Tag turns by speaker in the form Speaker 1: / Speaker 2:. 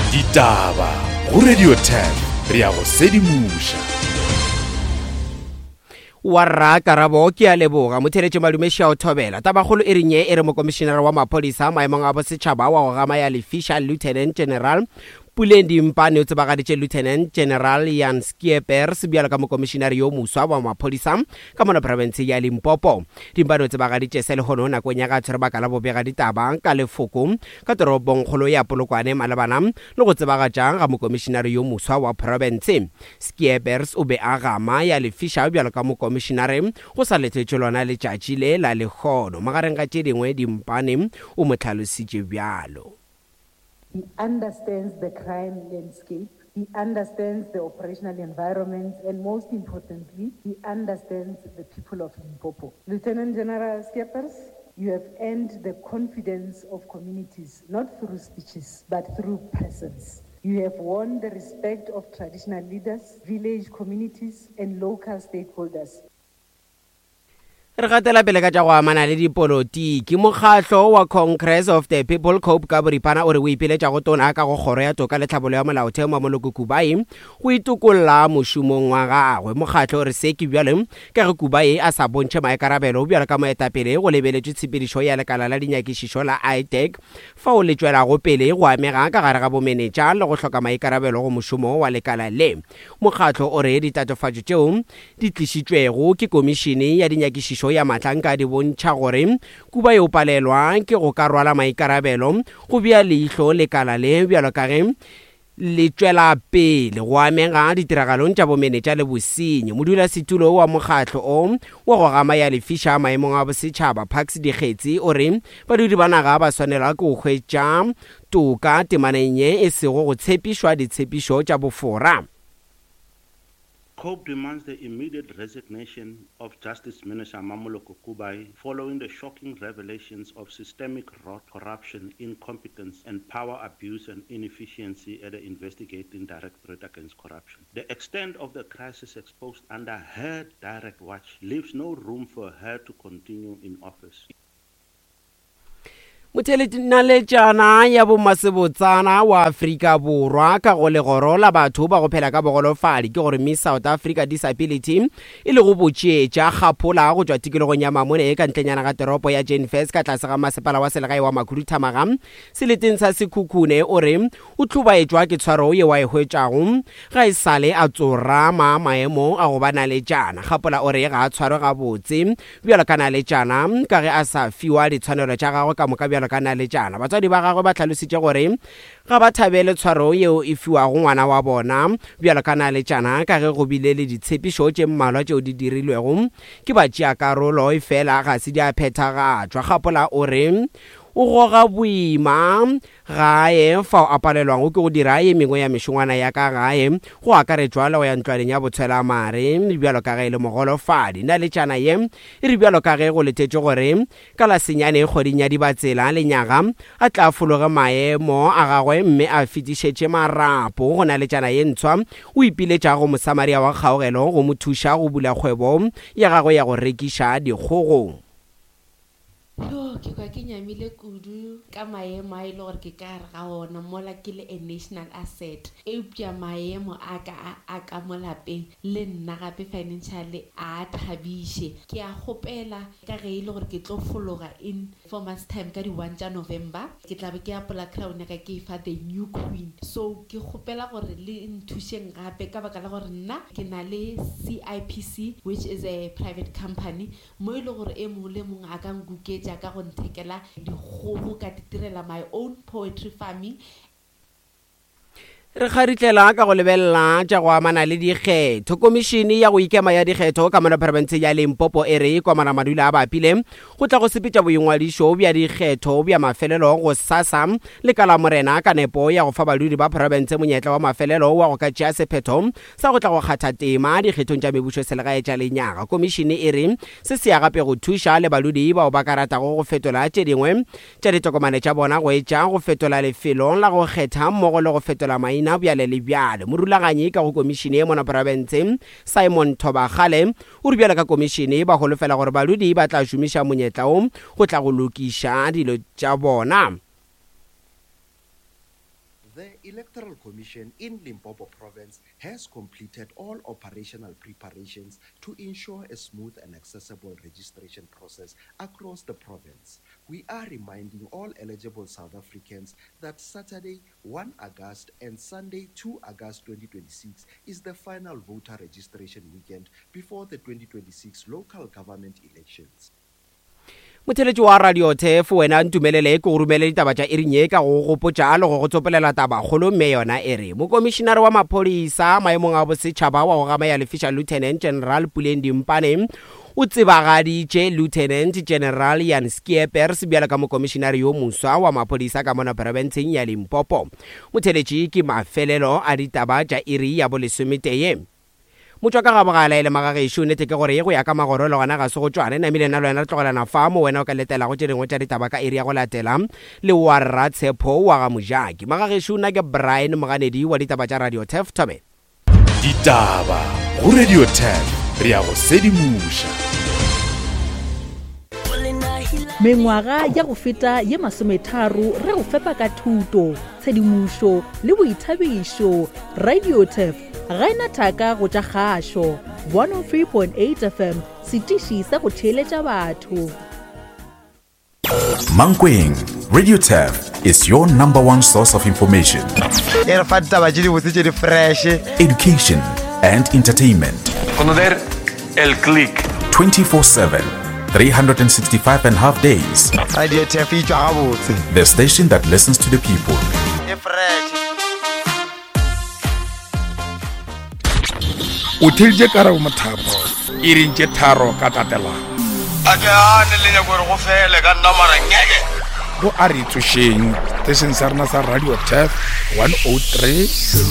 Speaker 1: Ditaba go Radio 10 re ya go sedimoša.
Speaker 2: Warra Karabo ke a leboga motheletše madume šao thobela tabakgolo e reng ye e re mokomišenara wa maphodisa maemong a bosetšhaba wa go gama ya lefiša Lieutenant General Puleng Dimpane o tsebagaditše Lieutenant General Jan Schiepers bjalo ka mokomišenare yo moswa wa maphodisa ka mono profense ya Limpopo. Dimpane o tsebagaditše se lehono nakong ya ge a tshwere baka la bobegaditaba ka lefoko ka toropongkgolo ya Polokwane malebana le go tsebagatša ga mokomišenare yo moswa wa profense. Schiepers o be a gama ya lefiša bjalo ka mokomišenare go sa letetšwe lona letšatši le la lehono. Magareng ga tše dingwe Dimpane o mo hlalositše bjalo.
Speaker 3: He understands the crime landscape, he understands the operational environment, and most importantly, he understands the people of Limpopo. Lieutenant General Skeppers, you have earned the confidence of communities, not through speeches, but through presence. You have won the respect of traditional leaders, village communities, and local stakeholders.
Speaker 2: Re gatela pele ka tša go amana le dipolotiki. Mokgatlo wa Congress of the People, COPE, ka boripana o re o ipiletša go Tona ka go Kgoro ya Toka le Tlhabollo ya Molaotheo Mamoloko Kubayi go itokolla mošomong wa gagwe. Mokgatlo o re se ke bjalo ka ge Kubayi a sa bontšhe maikarabelo bjalo ka moetapele go lebeletšwe tshepedišo ya lekala la dinyakišišo la ITAC fao le tšwelago pele go amega ka gare ga bomenetša le go hloka maikarabelo go mošomo wa lekala le. Mokgatlo o re ditatofatšo tšeo di tlišitšwego ke Komišene ya Dinyakišišo ya Mahlanka di bontšha gore Kuba yo palelwa ke go ka rwala maikarabelo go bea leihlo lekala le bjalo ka ge le tšwela pele go amega ditiragalong tša bomenetša le bosenyi. Modulasetulo wa mokgatlo o wa go gama ya lefiša maemong a bosetšhaba, Parks Dikgetsi, o re badudi ba naga ba swanelwa ke go hwetša toka temaneng ye e sego go tshepišwa ditshepišo tša bofora.
Speaker 4: COPE demands the immediate resignation of Justice Minister Mamoloko Kubayi following the shocking revelations of systemic rot, corruption, incompetence and power abuse and inefficiency at the Investigating Directorate Against Corruption. The extent of the crisis exposed under her direct watch leaves no room for her to continue in office.
Speaker 2: Motheletšanaletšana ya bomasebotsana wa Afrika Borwa ka go legoro la batho ba go phela ka bogolofadi ke gore Miss South Africa Disability e lego botšeetša kgaphola go tšwa tikologong ya Mamone e ka ntlenyana ga teropo ya Jane Furse ka tlase ga masepala wa selegae wa Makhuduthamaga seleteng sa Sekhukhune o re o hlobaetšwa ke tshwaro yeo a e hwetšago ga e sale a tsorama maemo a go ba naletšana. Kgapola o re ga a tshwarwe gabotse Bjalo ka naletšana, ka ge a sa fiwa ditshwanelo tša gagwe ka moka bjalo ka naletšana. Batswadi ba gagwe ba hlalositše gore ga ba thabele tshwaro yeo e fiwago ngwana wa bona bjalo ka naletšana ka ge go bile le ditshepišo tše mmalwa tšeo di dirilwego ke batšeakarolo efela ga se di a phethagatšwa. Kgapola o re o goga boima gae fao a palelwago ke go dira ye mengwe ya mešongwana ya ka gae, go akaretšwa le go ya ntlwaneng ya botshwelamare bjalo ka ge e le mogolofadi. Naletšana ye e re bjalo ka ge go letetšwe gore ka la senyane kgweding ya Dibatsela lenyaga a tla fologe maemo a gagwe mme a fetišetše marapo go naletšana ye ntshwa, o ipiletša go Mosamaria wa kgaogelo go mo thuša go bula kgwebo ya gagwe ya go rekiša dikgogo.
Speaker 5: Yo, ke kwa ke nyamile kudu ka maemo a e le gore ke ka gare ga ona mola ke le a national asset. Eupša maemo a ka a a ka mo lapeng le nna gape financially a a thabiše. Ke a kgopela ka ge e le gore ke tlo fologa in four months time ka di one tša November, ke tla be ke apola crown ya ka ke e fa the new queen. So ke kgopela gore le nthušeng gape ka baka la gore nna ke na le CIPC which is a private company mo e le gore e mongwe le mongwe a ka nkuketša ka go nthekela dikgogo ka titirela my own poetry farming.
Speaker 2: Re kgaritlela ka go lebelela tša go amana le dikgetho. Komišene ya go ikema ya dikgetho ka mono profenseng ya Limpopo e re Komana Madula a bapile go tla go sepetša boingwadišo bja dikgetho bja mafelelo go sasa le ka Lamorena ka nepo ya go fa badudi ba profense monyetla wa mafelelo wa go ka tšea sephetho sa go tla go kgatha tema dikgethong tša mebušoselegae tša lenyaga. Komišene e re se se ya gape go thuša le badudi bao ba ka ratago go fetola tše dingwe tša ditokomane tša bona go etša go fetola lefelo la go kgetha mmogo le go fetola maina bjale le bjale. Morulaganyi ka go komišene ye mona profense, Simon Thobakgale, o re bjalo ka komišene ba holofela gore badudi ba tla šomiša monyetla wo go tla go lokiša dilo tša bona.
Speaker 6: The Electoral Commission in Limpopo Province has completed all operational preparations to ensure a smooth and accessible registration process across the province. We are reminding all eligible South Africans that Saturday, 1 August and Sunday, 2 August 2026 is the final voter registration weekend before the 2026 local government elections.
Speaker 2: Motheletši wa Radio Turf, wena ntumelele ke go romele ditaba tša iring ye ka go gopotša le go go tsopolela tabakgolo mme yona e re Mokomišinare wa Maphodisa maemong a bosetšhaba wa go gama ya lefiša Lieutenant General Puleng Dimpane o tsebagaditše Lieutenant General Jan Schiepers bjalo ka mokomišinare yo moswa wa maphodisa ka mona profenseng ya Limpopo. Motheletši ke mafelelo a ditaba tša iri ya bolesometee. Motšwa ka ga bogala e le magagešo, nnete ke gore go ya ka magoro le gona ga se go tšwane. Namile nna le wena re tlogelana fa mo wena o ka letelago tše dingwe tša ditaba ka iri ya go latela le wa Rra Tshepo wa ga Mojaki. Magagešo nna ke Brian Moganedi wa ditaba tša Radio Turf Thobela.
Speaker 1: Ditaba go Radio Turf re a go sedimoša.
Speaker 7: Mengwaga ya go feta ye masometharo re go fepa ka thuto, tshedimošo le boithabišo. Radio Turf ga e na thaka go tša kgašo. 103.8 FM, setiši sa go theeletša batho.
Speaker 1: Mankweng, Radio Turf is your number one source of information.
Speaker 8: E re fa ditaba tše dibotse tše di fresh.
Speaker 1: Education and entertainment.
Speaker 9: Conocer el click.
Speaker 1: 24/7, 365 and half days.
Speaker 8: Radio Turf e tšwa gabotse.
Speaker 1: The station that listens to the people.
Speaker 8: E fresh.
Speaker 10: O theeditše Karabo Mothapo iring tše tharo ka tatelano.
Speaker 11: A ke gane le nyako gore go fele ka nna mara ngeke.
Speaker 10: Go a re tsošeng seteisheng sa rena sa Radio Turf 103.